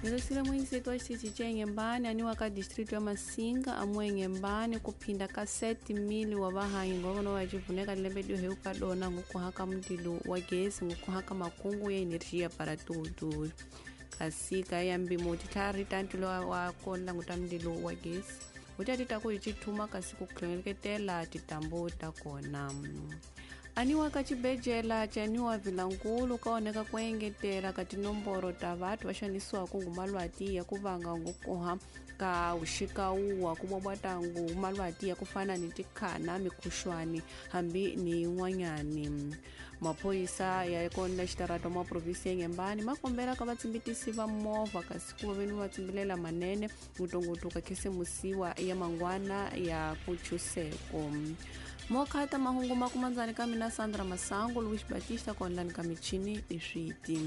Nilosile muinseto wa xitichi ca Inhembane aniwa ka distrito ya Massinga amu Inhembane kuphinda ka 7.000 wa vahanyi ngovona wa civuneka lembe lio ka dona ngukuhaka mundilo wa gesi ngukuhaka makungu ya energia para tudo kasi ka ya mbimo titlhari ta ntilo wa kona languta mundilo wa gesi utatita ku cithuma kasi ku tlhoneketela titambu ta kona. Aniwa ka cibejela caniwa Vilankulu kaoneka ku engetela ka tinomboro ta vathu va xanisiwaka ngumalwati ya ku vanga ngukuha ka uxikawuwa ku bobwata ngumalwati ya ku fana ni tikhana mikhuxwani hambi ni yin'wanyani. Maphorisa ya kona xitarato ma provinsi ya Inhembane ma kombela ka vatsimbitisi va movha kasi ku va veni va tsimbilela manene ngutungutu ka khisimusiwa ya mangwana ya kuchuseko. Mokhata mahungu makumandzani ka mina Sandra Masango Luis Batista konlani ka michini leswiti.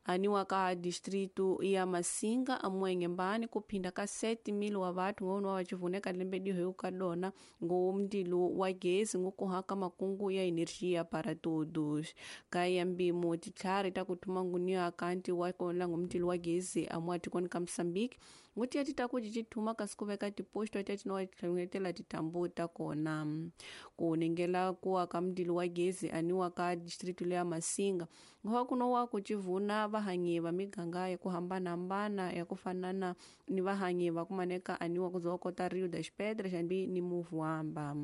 Aniwa ka distrito ya Massinga amu Inhembane kuphinda ka 7.000 wa vathu ngono wa civuneka lembe diho ka dona ngomndilo wa gesi ngukuhaka makungu ya energia para todos. Ka ya mbimo titlhari ta kuthuma ngunia kanti wa kona ngomndilo wa gesi amu atikoni ka Mozambique nguti ya tita ku cithuma kasi ku veka tiposto ta tinowa tlhongetela titambu ta kona. Ku ningela kuwa ka mndilo wa gesi aniwa ka distrito ya Massinga ngowa kuno wa ku civuna vahanyi va miganga ya ku hambanahambana ya ku fanana ni vahanyi va kumaneka aniwa kuzowa kota Rio das Pedras hambi ni Muvuamba.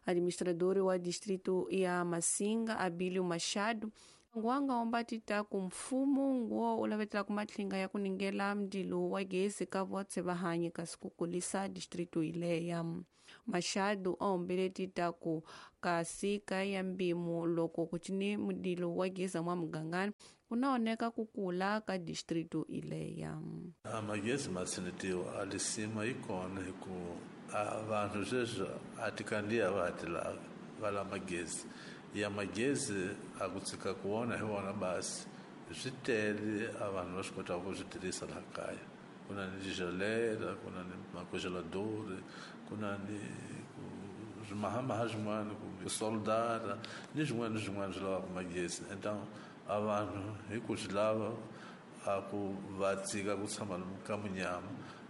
Administrador wa distrito ya Massinga Abilio Machado nguwanga ombatita ku mfumo nguwo ulavetela ku matlinga ya kuningela mndilo wa gesi ka votse vahanyi kasi ku kulisa distrito ileya. Machado aombele tita ku kasi ka ya mbimo loko ku cini mndilo wa gesi mwa mugangani kunaoneka kukula ka distrito ileya. Magesi masinitiwa alisima ikona hiku vanhu sweswi a tikandziya va ha ti lava va lava magezi ya magezi a ku tshika ku wona hi wona basi swi tele a vanhu va swi kotaka ku swi tirhisa laha kaya. Ku na ni tigelera, ku na ni macongelador, ku na ni swimahamaha swin'wana kumbe soldara ni swin'wana ni swin'wana swi lavaka magezi. Então a vanhu hi ku swi lava a ku va tshika ku tshama ka munyama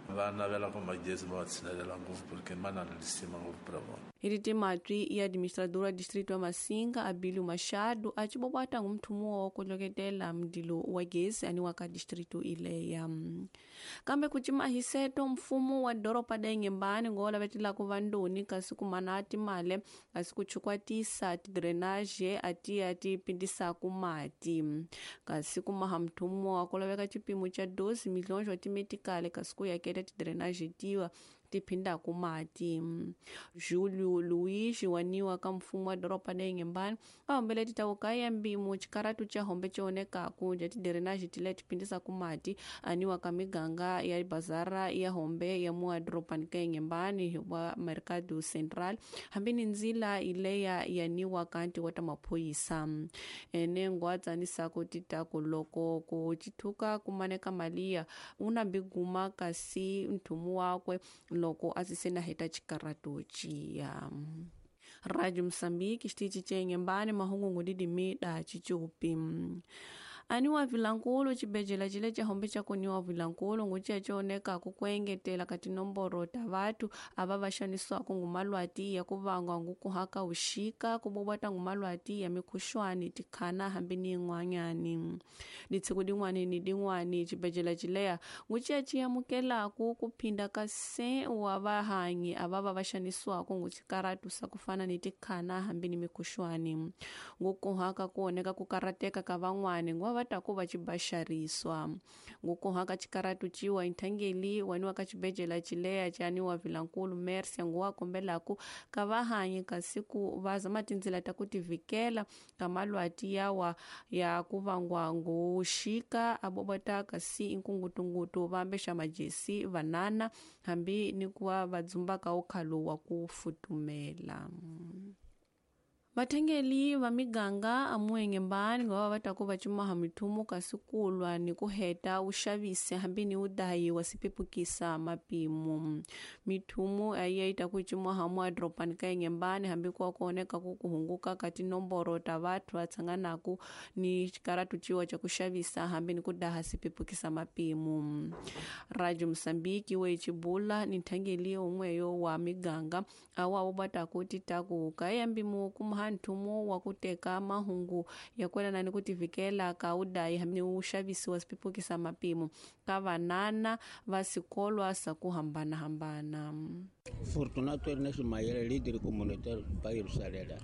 va navela ku magezi va tshinelela ngopfu porque ma na lisima ngopfu pra vona. Hi timatwi ya administrador wa distrito wa Massinga Abilio Machado a cibobwata ngumthumo wa ku loketela mndilo wa gesi aniwa ka distrito ileya. Kambe ku cima hiseto mfumo wa doroba da Inhembane ngola vetela ku vandoni kasi ku mana timale kasi ku chukwatisa tidrainage atiya ti pindisa ku mati kasi ku maha mthumo wa ku laveka cipimo ca 12 milhões wa timetikale kasi ku yaketa tidrainage tiwa tiphinda ku mati. Julio Luiz waniwa ka mfumo wa doroba da Inhembane a hombele titawuka ya mbimo xikaratu ca hombe cionekaku ja tidrainage tile tipindisa ku mati aniwa ka miganga ya bazara ya hombe ya mua dorobani ka Inhembane wa Mercado Central hambi ni ndzila ileya yaniwa kanti wa ta maphorisa. Ene ngwa tsanisako titaku loko ku cithuka kumaneka maliya una biguma kasi nthumu wakwe loko a sise na heta xikaratu ciya. Radio Mozambique xitichi ca Inhembane mahungu ngudidimi da cicupi. Aniwa Vilankulu cibejela cile ca hombe ca kuniwa Vilankulu nguciya cionekaku ku engetela ka tinomboro ta vathu ava va xanisiwaka ngumalwati ya ku vangwa ngukuhaka uxika ku bobwata ngumalwati ya mikhuxwani tikhana hambi ni yin'wanyani. Ditshiku din'wani ni din'wani cibejela cileya nguciya ci amukelaku ku phinda ka 100 wa vahanyi ava va va xanisiwaka nguxikaratu sa ku fana ni tikhana hambi ni mikhuxwani. Ngukuhaka ku oneka ku karateka ka van'wani nguva va ta ku va cibaxariswa. Ngukuhaka xikaratu ciwa inthangeli waniwa ka cibejela cileya caniwa Vilankulu Mercia nguwa kombelaku ka vahanyi kasi ku va zama tindzila ta ku tivikela ka malwati yawa ya ku vangwa nguxika a bobota kasi inkungutungutu va ambexa majesi vanana hambi ni ku va va dzumbaka ukhalo wa ku futumela. Vathengeli va miganga amuenghembani ngova va ta ku va cimaha mithumu kasi kulwa ni ku heta uxavisi hambi ni udayi wa sipepukisa mapimo. Mithumu ayi ta ku cimaha muadropani ka enghembani hambi ku kuoneka ku kuhunguka ka tinomboro ta vathu va tshanganaku ni xikaratu ciwa ca ku xavisa hambi ni ku daha sipepukisa mapimo. Radio Mosambiki we cibula ni nthangeli un'weyo wa miganga awa wu va ta ku ti ta ku ka yambimu kuma nthumu wa ku teka mahungu ya kwelana ni ku tivikela ka udayi hambi ni uxavisi wa sipepukisa mapimo ka vanana va sikolwa sa ku hambanahambana. Fortunato Ernesto Mayele, líder comunitário bairro Salela.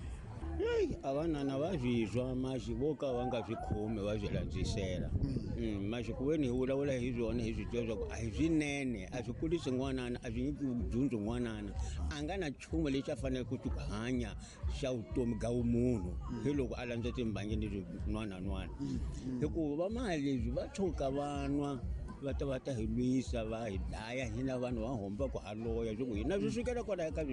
A vanana va swi maxi vo ka va nga swi khomi va swi landzisela. Maxi ku ve ni hi vulavula hi swona hi swi tiva swa ku a hi swinene, a swi kulisi n'wanana, a swi nyiki dyondzo n'wanana. A nga na nchumu lexi a faneleke ku xi hanya xa vutomi bya vumunhu hi loko a landza timbangi ni swin'wanan'wana. Hikuva va mali leswi va tshuka va nwa va ta hi lwisa va hi dlaya hina vanhu va homba ku ha loya swi ku hina swi sukela kwala ka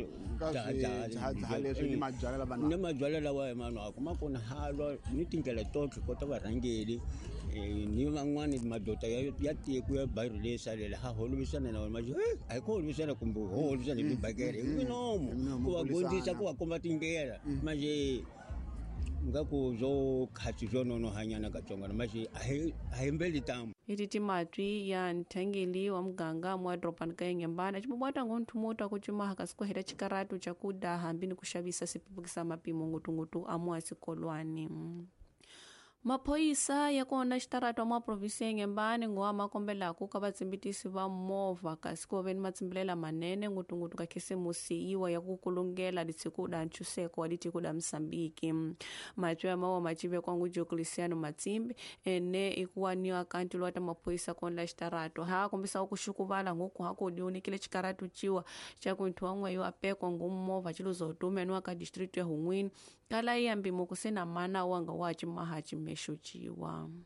leswi ni mabyalwa lava ni mabyalwa lawa hi manhu a kuma ku na halwa ni tindlela totlhe kota varhangeli ni van'wani madoda ya tiko ya bairro leyi salela ha holovisana na vona maxi a hi ku holovisana kumbe ho holovisana hi tibakele hi minomo ku va gondzisa ku va komba tindlela manje nga ku byo khatsi byo nonohanyana katsongwana maxi a hi mbeli tamu. Iti timatwi ya nthangeli wa muganga muadropani ka enghembana cibobwata ngo nthumu ta ku cimaha kasi ku heta xikaratu ca ku daha hambi ni ku xavisa sipepukisa mapimo ngutungutu amu esikolwani. Maphoyisa ya kona xitarata mwa provinsi ya Nghembani ngowa makombelaku ka vatsimbitisi va movha kasi ku ve ni matsimbilela manene ngutungutu ka khisimusi yiwa ya ku kulungela litshiku da ntshuseko wa litiko da Mosambiki. Matwi ya mawa macivekwa ngu Diocleciano Matsimbi ene ikuwaniwa kanti lwa ta maphoyisa kona xitarata ha kombisa ku xukuvala ngoku ha ku diunikile xikaratu ciwa xa ku nthu wan'we yo apekwa ngu movha ciluzotume niwa ka district ya Hun'wini kala yambi muku se na mana wanga wa cimaha cimexo ciwa.